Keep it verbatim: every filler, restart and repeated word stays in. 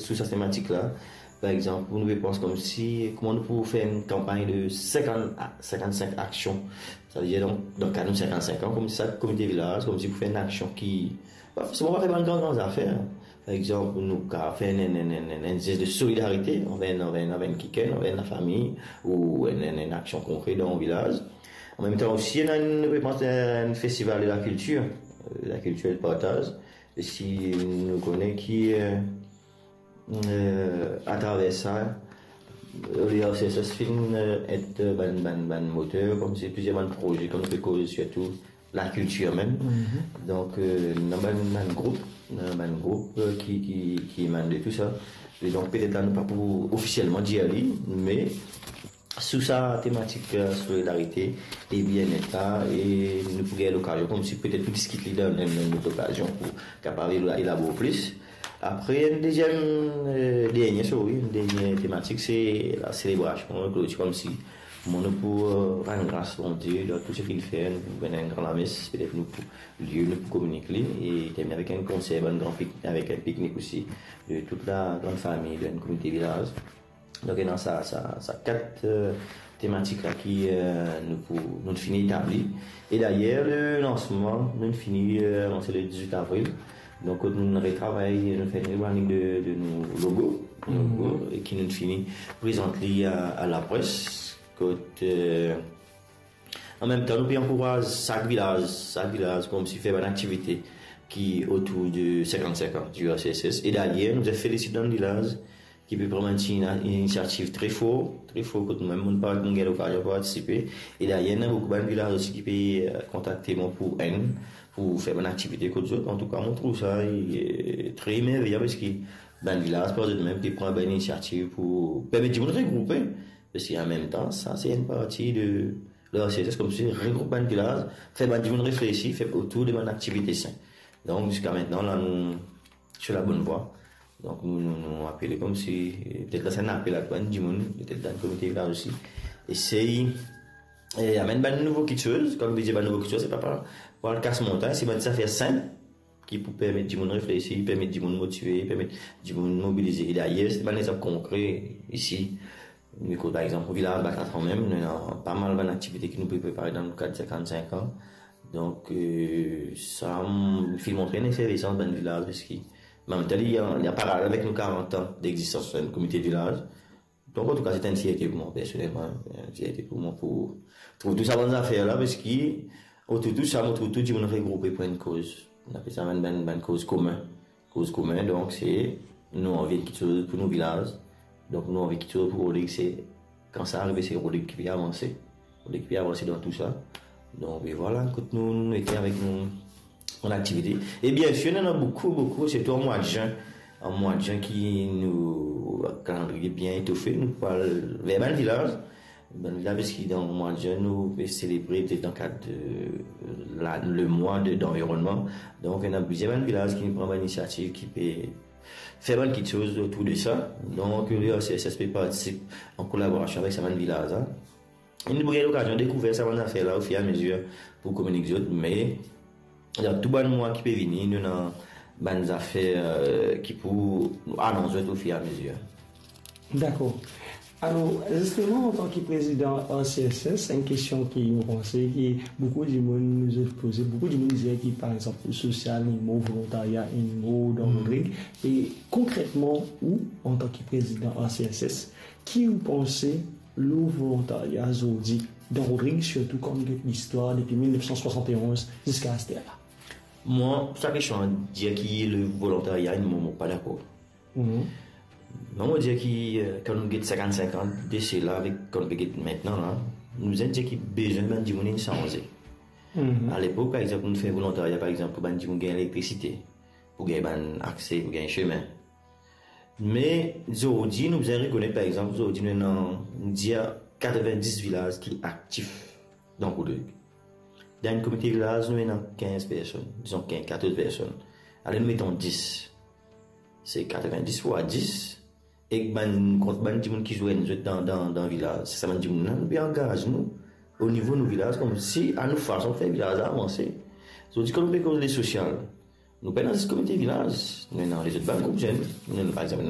Sou sa tematik la, par exanp, nou pe pans koumsi kouma nou pou fer enn kanpagn de cinquante a cinquante-cinq aksion. Savedir, donk, dan kad nou cinquante-cinq an, koumsi sak komite vilaz, koumsi pou fer enn aksion ki, pa forseman pa fer bann gran, gran zafer. Par exanp, nou kapav fer enn, enn, enn, enn, enn zes de solidarite anver, anver, anver kikenn, anver lafami, ou enn, enn, enn aksion konkre dan vilaz. An mem tan osi, ena enn, nou pe pans enn festival de la kiltir, euh, la kiltir e partaz. E si nou kone ki, euh, euh, atraver sa, euh, le R C S S finn, euh, et, euh, bann, bann, bann moter, koumsi plizier bann proze, kouma nou pe koz sirtou lakiltir mem. Mhm. Donk, euh, ena bann, bann group, ena bann group, euh, ki, ki, ki emann de tou sa. E donk, petet la, nou pa pou ofisielman dir li, me sou sa tematik, euh, solidarite e bienet la, e nou pou gagn lokazion koumsi petet pou diskit li dan, dan, dan enn lot okazion pou kapav ela-, elabor plis. Apre, enn deziem, euh, dernie, sorry, enn dernie tematik, se la selebrasion, klotir, koumsi kouma nou pou, euh, rann gras Bondie dan tou seki li fer, nou pou fer enn gran lames, petet nou pou, lie nou pou kominik li, e termine avek enn konser, bann gran pik-, avek enn piknik osi, de tout la gran fami, de enn komite vilaz. Donk, ena sa, sa, sa kat, euh, tematik la ki, euh, nou pou, nou finn etabli. E dayer, le lansman, nou finn fini, euh, lanse le diz-wit avril. Donk, kot nou retravay, nou fer enn rebranding de, de nou logo, logo, e ki nou finn fini prezant li a, a lapres. Kot, euh, an mem tan, nou pe ankouraz sak vilaz, sak vilaz, koumsi fer bann aktivite ki otour de cinquante-cinq an du R C S S. E dayer, nou felisit bann vilaz ki pe pran bann ti ina-, inisiativ tre for, tre for, kot nou mem, nou pa gagn lokazion pou partisipe. E dayer, ena boukou bann vilaz osi ki pe, euh, kontakte mwa pou enn, pou fer bann aktivite kot zot. Antouka, mo trouv sa, euh, tre merveyan, parski bann vilaz par zot mem pe pran bann inisiativ pou permet dimoun regroupe. Parski an mem tan, sa se enn parti de le R C S S, koumsi regroup bann vilaz, fer bann dimoun reflesi, fer otour de bann aktivite sin. Donk, ziska mintnan, la, nou sur la bonne voie. Donk, nou, nou, nou apele koumsi, petet la, se enn apel a bann dimoun, petet dan komite vilaz osi. Esey, e, amenn bann nouvo kitsoz. Kan nou dir bann nouvo kitsoz, se pa, pa, pa al kas montagn, se bann zafer sinp ki pou permet dimoun reflesi, permet dimoun motive, permet dimoun mobilize. E dayer, se bann lexanp konkre isi. Nou ekout, par exanp, vilaz Batatran mem, nou ena pa mal bann aktivite ki nou pe prepare dan le kad cinquante-cinq an. Donk, euh, sa, mm, finn montre enn efervesans bann vilaz, parski, an mem tan, li an, li an paralel avek nou karant an dexistans enn komite vilaz. Donk, antouka, se enn fierte pou mwa, personelman, enn fierte pou mwa pou trouv tou sa bann zafer la, parski, otour tou sa, mo trouv tou dimoun regroupe pou enn koz. Nou apel sa bann, bann, bann koz komin. Koz komin, donk, se nou anvi enn kitsoz pou nou vilaz. Donk, nou anvi kitsoz pou Rodrig, se, kan sa arive, se Rodrig ki pe avanse. Rodrig ki pe avanse dan tou sa. Donk, e vwala, kot nou, nou ete avek nou, nou aktivite. E biensir, nou ena boukou, boukou, sirtou an mwa de zin. An mwa de zin ki nou, kalandriye bien etofe, nou pou al ver bann vilaz. Bann vilaz, parski dan mwa de zin, nou pe selebre, dan kad, euh, la, le mwa de, danvironnman. Donk, ena plizier bann vilaz ki pran bann inisiativ, ki pe fer bann kitsoz otour de sa. Donk, le R C S S pe partisip an kolaborasion avek sa bann vilaz la. E nou pou gagn lokazion dekouver sa bann zafer la ofir e amezir pou kominik zot, me dan tou bann mwa ki pe vini, nou ena bann zafer, euh, ki pou anons zot ofir e amezir. Dakor. Alor, zisteman, antan ki prezidan R C S S, enn kestion ki mo panse ki boukou dimoun zot poze, boukou dimoun dir ki, par exanp, sosial inn mor, volontarya inn mor dan Rodrig. E konkretman, ou, antan ki prezidan R C S S, ki ou panse lor volontarya zordi dan Rodrig, sirtou kan nou get listwar depi mil nef san swasant e onz ziska aster la? Mwa, sa kestion dir ki le volontarya inn mor, mo pa dakor. Mhm. Non, mo dir ki, euh, kan nou get sinkann-sink an de sela avek kan nou pe get mintnan la, nou bizin dir ki bizin bann dimoun inn sanze. Mhm. Alepok, par exanp, nou fer volontarya, par exanp, pou bann dimoun gagn elektrisite, pou gagn bann akse, pou gagn sime. Me zordi, nou bizin rekonet, par exanp, zordi nou ena, nou dir, katrevin-dis vilaz ki aktif dan Rodrig. Dan enn komite vilaz, nou ena kinz personn, dizon kinz, katorz personn. Ale nou met an dis. Se katrevin-dis fwa dis, ek bann, kont bann dimoun ki zwenn zot dan, dan, dan vilaz. Se sa bann dimoun la, nou pe angaz nou o nivo nou vilaz, koumsi a nou fason fer vilaz la avanse. Zordi, kan nou pe koz lesosial, Nou pena zis komite vilaz, nou ena lezot bann group zenn, nou ena par exanp